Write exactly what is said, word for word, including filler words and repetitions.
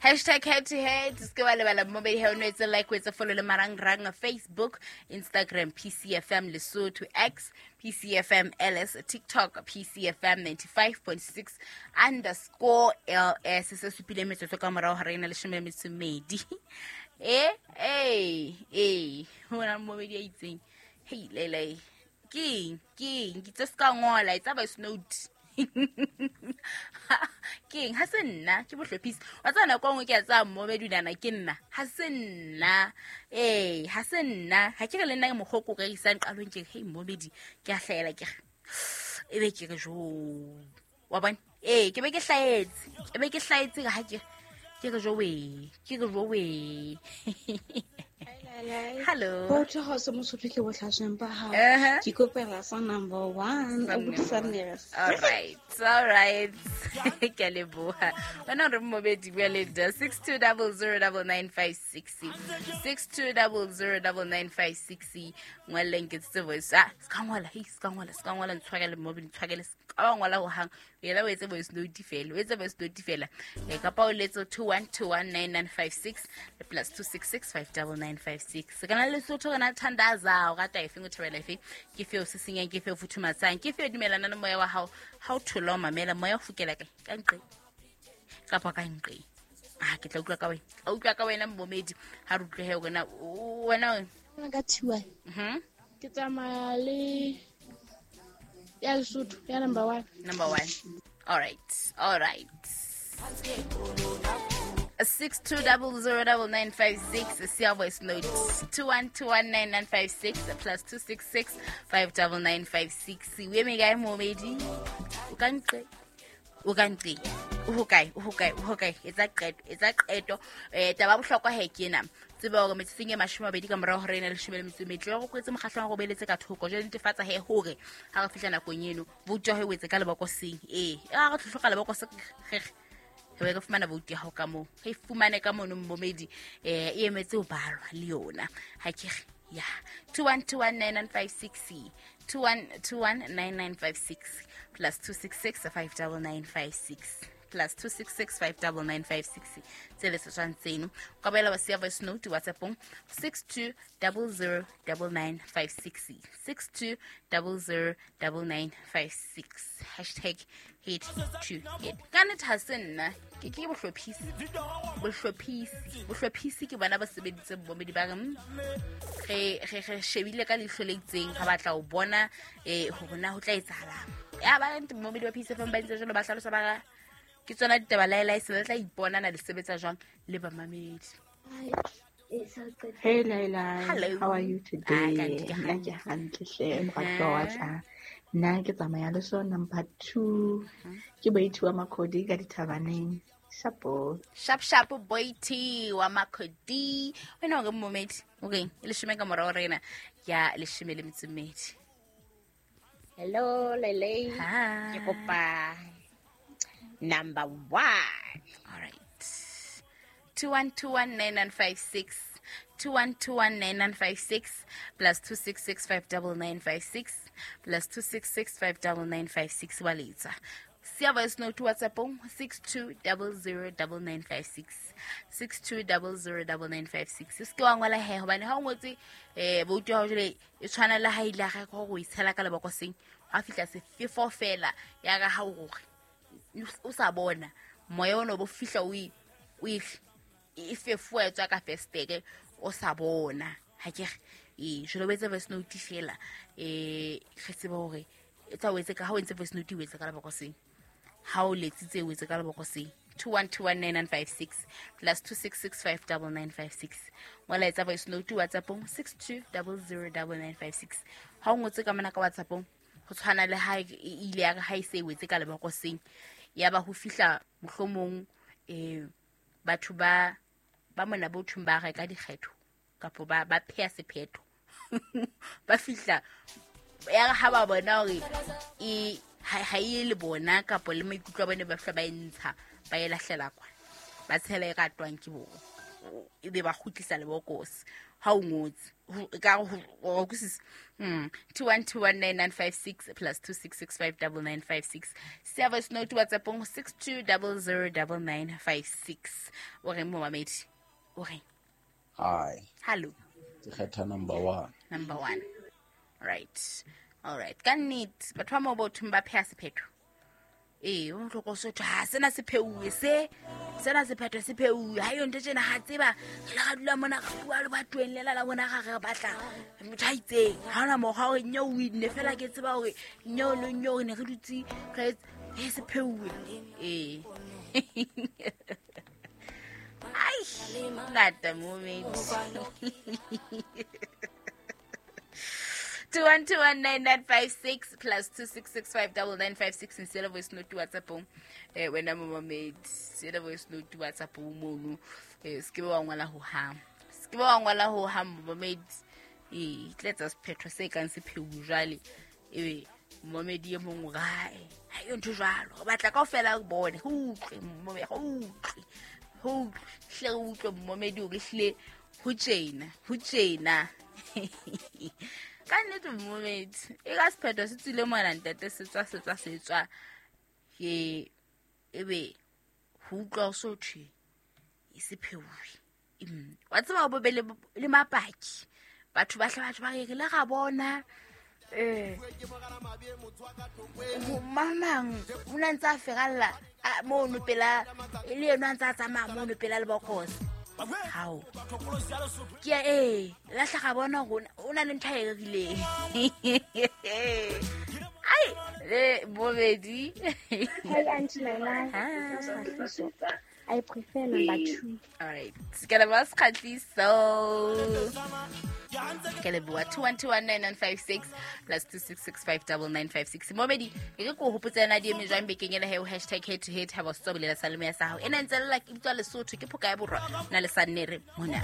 Hashtag head to head. Se ke wa lebala mmobedi he o no etse like, o etse follow le marangrang Facebook, Instagram P C F M Lesotho, X P C F M L S, TikTok P C F M ninety-five point six underscore L S. Se supile metsotso ka morao ha re ena leshome le metso e mmedi. Eh, eh, eh. Ho na mmobedi a itseng. Hey, lele. Ke eng? Ke eng? Ke tse ska ngola, etsa voice note. Ke eng? Ha se nna, ke bohlophisi. Wa tseba nako e nngwe ke a tsaya mmobedi nana ke nna. Ha se nna. Eh, ha se nna. Ha ke re le nna ke mokgwa o ko rekisang qalong ke re, hey, mmobedi, ke a hlahela ke re. E be ke re, jo. Wa bona? Eh, ke be ke hlahetse. Ke be ke hlahetse ha ke ke re, jo we. Ke re, jo we. Hello. Botho ha se mosotho ke bohlasweng ba hao. Uh-huh. Ke kopela sa number one. Sa O botsa number nere. All right. All right. Ke a leboha. Wena re mmobedi bua le nna. six two double zero double nine five six. six two double zero double nine five six. Ngwaleng ke tse voice. Ah, ska ngwala, hey, ska ngwala, ska ngwala ntshwarele mmobedi, ntshwarele. Ska ngwala ho hang. Yela o etse voice note fela. O etse voice note fela. E kapa o letse two one two one nine nine five six le plus two six six five double nine five six. Se kana Lesotho rena thandaza, o rata efeng, o thabela efeng? Ke feo se senyang, ke feo futhumatsang, ke feo dumelana le moya wa hao. Ha o thola o mamela, moya o fokela kae? Ka nqe. Kapa ka nqe. Ah, ke tla utlwa ka wena. Ka utlwa ka wena mmomedi. Ha re utlwe he wena, o, wena o. Nna ka T Y. Mhm. Ke tsamaya le ya Lesotho, ya number one. Number one. All right. All right. six two double zero double nine five six, siya voice note two one two one nine nine five six plus two six six five double nine five six. O eme kae momedi? O ka nqe? O ka nqe? O hokae? O hokae? O hokae? Etsa qeto, etsa qeto. Eh, taba ya bohlokwa he ke ena. Tseba hore metsotsong e mashome a mabedi ka morao hore ena leshome le metso e metlo, re kwetse mokgahlong wa go beletse ka thoko. Jwale netefatsa he hore ha re fihla nakong eno, vote ya hao e wetse ka lebokoseng. Ee, ha re tlhohloka lebokose, re re re fumana vote ya hao ka moo. Re fumane ka mono mmomedi, eh, e emetse ho balwa le yona. Ha ke re, ya. two one two one nine nine five six, two one two one nine nine five six, plus two six six five double nine five six, plus two six six five double nine five six. Tse le setswang tseno. O ka boela wa siya voice note WhatsApp-ong six two double zero double nine five six, six two double zero double nine five six. Hashtag head to head. Ka nnete ha se nna, ke ke bohlophisi. Bohlophisi. Bohlophisi ke bona ba sebeditseng mmomedi ba re, mm, re, re, re shebile ka leihlo le itseng, re batla ho bona, eh, hore na ho tla etsahalang. Ya ba ntse mmomedi ba P C F M ba ntse jwalo ba hlalosa ba re, ke tsona ditaba laelae, se le tla ipona na le sebetsa jwang le bamamedi. Hey Laila, Hello. How are you today? Ah, ka ntle, ke Nna ke hantle. hantle hle, moratuwa wa ka. Nna ke tsamaya le so number two. Mhm. Ke Boithi wa Makhodi ka dithabaneng. Shapo. Sharp sharp Boithi wa Makhodi. Wena o re mmomedi, o reng? E leshome ka morao rena ya leshome le metso e mmedi. Hello Lele. Hi. Ke kopa number one. All right. two one two one nine nine five six. two one two one nine nine five six plus two six six five double nine five six plus two six six five double nine five six wa letsa. Siya voice note WhatsApp-ong six two double zero double nine five six. six two double zero double nine five six. Se ke wa ngola he, hobane ha o ngotse, eh, vote ya hao jwale e tshwana le ha ile ha hore o e tshela ka lebokoseng, ha fihla sefefo fela ya ka ha o hore o sa bona moya ona o bo fihla o e, o e, e fefowa e tswa ka festere o sa bona. Ha ke re, ee, jwale o etse voice note fela, eh, re tsebe hore e tsa o etse ka, ha o entse voice note o etse ka lebokoseng. Ha o letsitse o etse ka lebokoseng. two one two one nine nine five six plus two six six five double nine five six. Ngola etsa voice note WhatsApp-ong six two double zero double nine five six. Ha o ngotse ka mona ka WhatsApp-ong, ho tshwana le ha e ile ya re ha e se e wetse ka lebokoseng, ya ba ho fihla mohlomong, eh, batho ba, ba mona bo thung ba reka dikgetho kapa ba, ba pheha sephetho. Ba fihla ya re ha ba bona hore e, ha, ha e le bona kapa le maikutlo a bone ba fihla ba e ntsha, ba e lahlela kwa, ba tshela e ratwang ke bona. e be ba kgutlisa lebokose ha o ngotse ka go kusisa mm two one two one nine nine five six plus two six six five nine nine five six service note WhatsApp on six two zero zero nine nine five six o re momamedi o re hi hello ke kgetha number one number one right all right ka nnete batho ba mo bothong ba pheha sephetho ee o tloko sotho ha sena se pheuwe se sena sephetho se pheuwe ha yo ntho tjena ha tseba re la dula mona re bua le batho lela la bona ga re batla motho a itseng ha ona mokgwa hore nyo o inne fela ke tseba hore nyo le nyo re ne re dutse re e se pheuwe ee ai ngata moment two one two one nine nine five six plus two six six five nine nine five six and send a voice note to WhatsApp. Eh wena momamedi send a voice note to WhatsApp mono eh se ke wa ngwala ho ha se ke wa ngwala ho ha momamedi eh tletsa sephetho se kang se pheu jwale ebe momamedi e mong rae ha yo ntho jwalo re batla kaofela re bone ho utlwe momamedi ho utlwe ho hle utlwe momamedi o re hle ho tjena ho tjena ka nnete momamedi e ka sephetho se tswile mona ntate se tswa se tswa se tswa ke ebe ho utlwa ho so thwe e se pheuwe wa tseba bo be le mapaki batho ba hle batho ba re re le ga bona eh mamang o na ntse a feralla mono pela e le yena a ntse a tsamaya mono pela lebokose hao ke e la hlaga bona gore o na le ntho e rerileng ai le bobedi hi auntie Laila I prefer number two. All right ke le ba Sekgatliso ke le bua two one two one nine nine five six plus two six six five nine nine five six momedi e re ko hopotsa na di eme jwang bekeng ena he o hashtag head to head ha ba se bolela sa leme ya sa hao ena ntse lela ke bitswa Lesotho ke phoka ya borwa na le sa nnere mona.